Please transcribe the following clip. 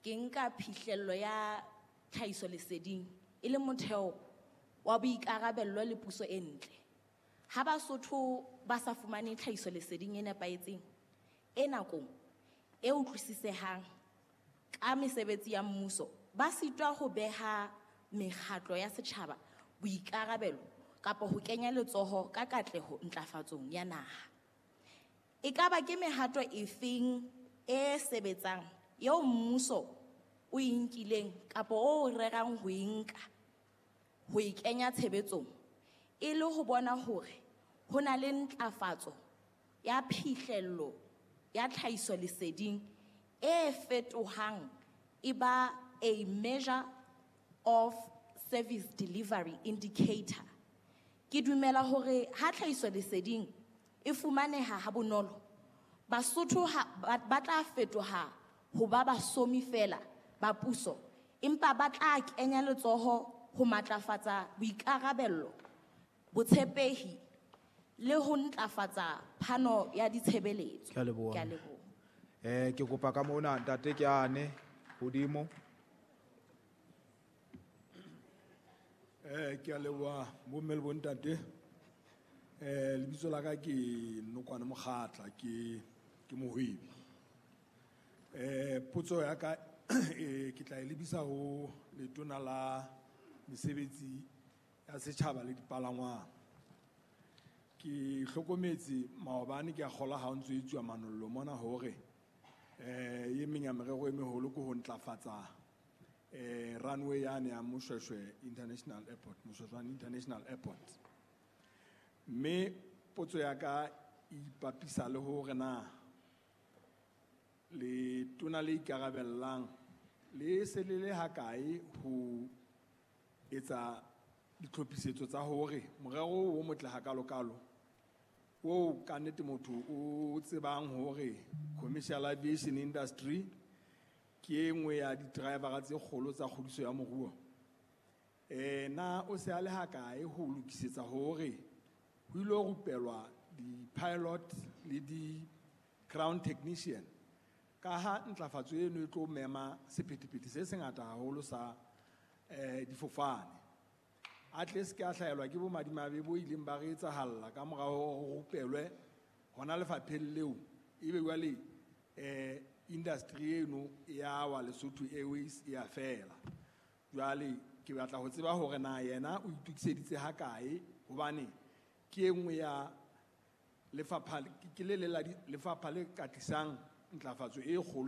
Ke nka phihlello ya tlhahisoleseding e le motheo wa boikarabello le puso e ntle. Ha Basotho ba sa fumane tlhahisoleseding e nepahetseng, e nakong, e utlwisisehang ka mesebetsi ya mmuso, ba sitwa ho beha mekgatlo ya setjhaba boikarabelo kapa ho kenya letsoho ka katleho ntlafatsong ya naha. Ekaba ke mehato efeng e sebetsang eo mmuso o e nkileng kapa o rerang ho e nka ho e kenya tshebetsong e le ho bona hore ho na le ntlafatso ya phihlello ya tlhahisoleseding e fetohang e ba a measure of service delivery indicator? Ke dumela hore ha tlhahisoleseding e fumaneha ha bonolo, Basotho ba tla fetoha ho ba basomi feela ba puso, empa ba tla kenya letsoho ho matlafatsa boikarabello, botshepehi le ho ntlafatsa phano ya ditshebeletso. Ke a leboha. Ke a leboha. Ke kopa ka mona ntate ke ane hodimo. Ke a leboha bomme le bontate. Lebitso la ka ke Nokwane Mokgatla, ke mohwebi. Potso ya ka ke tla e lebisa ho letona la mesebetsi ya setjhaba le dipalangwang. Ke hlokometse maobane ke a kgolwa ha o ntso etsuwa manollo mona hore e meng ya merero e meholo ke ho ntlafatsa runway yane ya Moshoeshoe International Airport, Moshoeshoe International Airport. Mme potso ya ka e ipapisa le hore na letona le ikarabellang le se le le hakae ho etsa ditlhophisetso tsa hore morero o motle hakalokalo oo ka nnete motho o tsebang hore commercial aviation industry ke e nngwe ya di-drivera tse kgolo tsa kgodiso ya moruo. Na o se a le hakae ho lokisetsa hore ho ilo rupelwa di-pilot le di-ground technician, ka ha ntlafatso eno e tlo mema sephethephethe se sengata haholo sa difofane. A tle se ke a hlahelwa ke bomadimabe bo ileng ba re etsahalla ka mora hore ho rupelwe hona lefapheng leo, ebe jwale industry eno ya wa Lesotho Airways e a fela. Jwale ke batla ho tseba hore na yena o itokiseditse hakae, hobane ke e nngwe ya lefapha, ke le leng la lefapha le ka tlisang ntlafatso e kgolo.